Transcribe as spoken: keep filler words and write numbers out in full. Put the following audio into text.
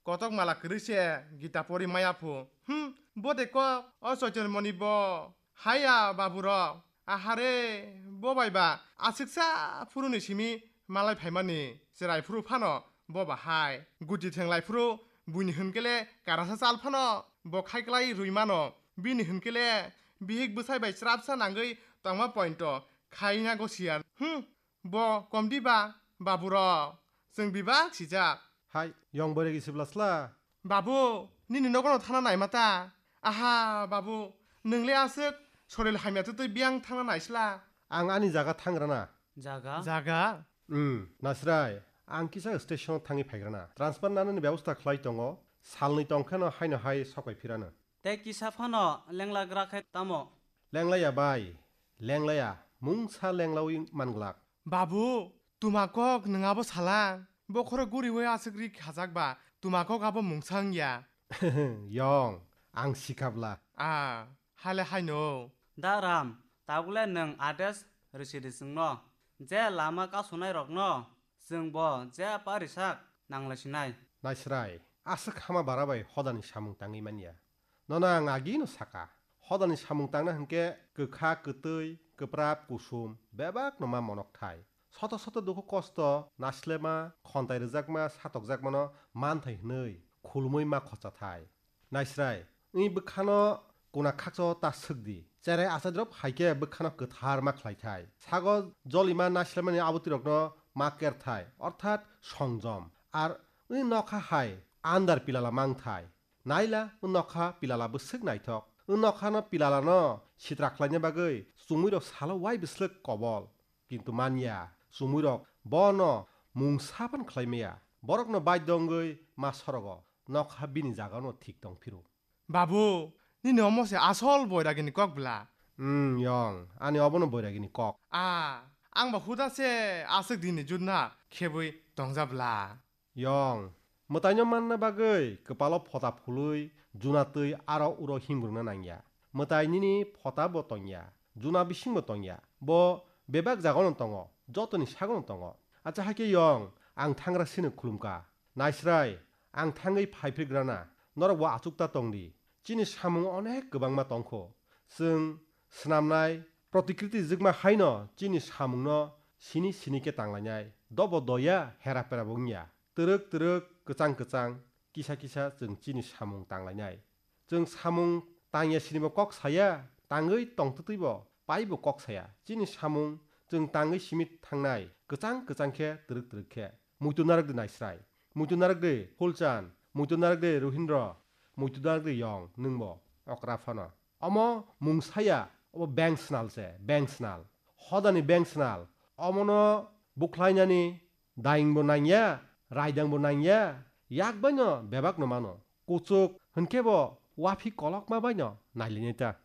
Kotok mala kwrwi se Gita pori maya phu. Hmm, bo de kok, o Choitonmoni bo. Haya babu rok. Ahare, bo bai ba, aswksa phuru ni simi malai phaimani, chwrai phuru phano bo ba hai. Guti thenglai phuru buini hwnkele karasa chal phano bo khaiklai rwi mano. Bini hwnkele bihik bwsai bai chwrapsa nangwi tongma pointo khaina gosiya. Hmm, bo komdi ba, babu rok. Chwng bibak sijak. Hai, yong boregi sibla sla. Babu, nini nogono thana naima ta? Aha, babu, nwng le aswk soril hamya twtwi biyang thangna naisla? Ang ani jaga thangrana. Jaga? Jaga? Hmm, Nasrai, ang kisa station thangwi phaigrana. Transfer nanani bebosta khlai tongo, salnwi tongkheno haino hai sokai phirano. Tei kisa phano lenglagra khe tamo? Lenglaya bai, lenglaya, mungsa lenglawi manglak. Babu, tuma kok nwng abo sala? Bokhoro guriwi aswk ri khajak ba, tuma kok abo mungsa wngya. Yong, ang sikhabla. A, hale haino. Da Ram, tabukle nwng ades rwsidi chwngno. Je lama kasonai rokno, chwng bo je parisak nanglaisinai. Naisrai, aswk hama bara bai hodani samung tangwi manya. Nono ang agino saka, hodani samung tangna hwnkhe kwkha, kwtwi, kwprap, kusum, bebakno ma monok thai. Soto soto dukhu kosto, naslema, khontai rwjakma, satokjakmano manthai hwnwi khulumwi ma khocha thai. Naisrai, wng bwkhano kuna khakchao ta swk di. Cherai achai drop hai khe bwkhano kwthar ma khlai thai. Sago jolima naslemani aboti rokno ma ker thai, orthat songjom. Ar wng nokha hai andar pilala mang thai. Naila, wng nokha pilala bwswk naithok. Wng nokhano pilalano sitra khlaina bagwi chumui rok salo wai bwslwk kobol. Kintu manya, chumui rok bono mungsa phan khlai maya. Borokno baidho wngwi ma sorogo. Nokha bini jagano thik tong phiru. Babu, nini omo se asol boiragini kok bla? Hmm, yong, ani obono boiragini kok. A, ang ba huda se aswk dini jutna khebwi tongja bla. Yong, mwtaino manna bagwi kwpalo phota phului, juna twi aro uro himrwngna nangya. Mwtai nini phota bo tongya, juna bising bo tongya. Bo bebak jagano tongo, jotoni sagono tongo. Acha hakhe yong, ang thangra sino khulumka. Naisrai, ang thangwi phaiphrigrana, norok bo achukta tongdi. Chini samung onek kwbangma tongkho. Chwng swnamnai, protikriti jwkma haino chini samungno sini sini khe tanglainai. Dobo doya, hera pera bo wngya. Twrwk twrwk, kwchang kwchang, kisa kisa chwng chini samung tanglainai. Chwng samung tangya sinibo kok saya, tangwi tongtwtwibo paibo kok saya. Chini samung chwng tangwi simi thangnai, kwchang kwchang khe, twrwk twrwk khe. Muitu narwk di Naisrai. Muitu narwk di Phulchan. Muitu narwk di Ruhindro. Muitu narwk di Yong, nwngbo okra phano. Omo mung saya, obo beng snal se, beng snal. Hodani beng snal. Omono bukhlainani daingbo nangya, raidangbo nangya, yak baino bebakno mano. Kuchuk hwnkhe bo waphi kolokma baino nailainai ta.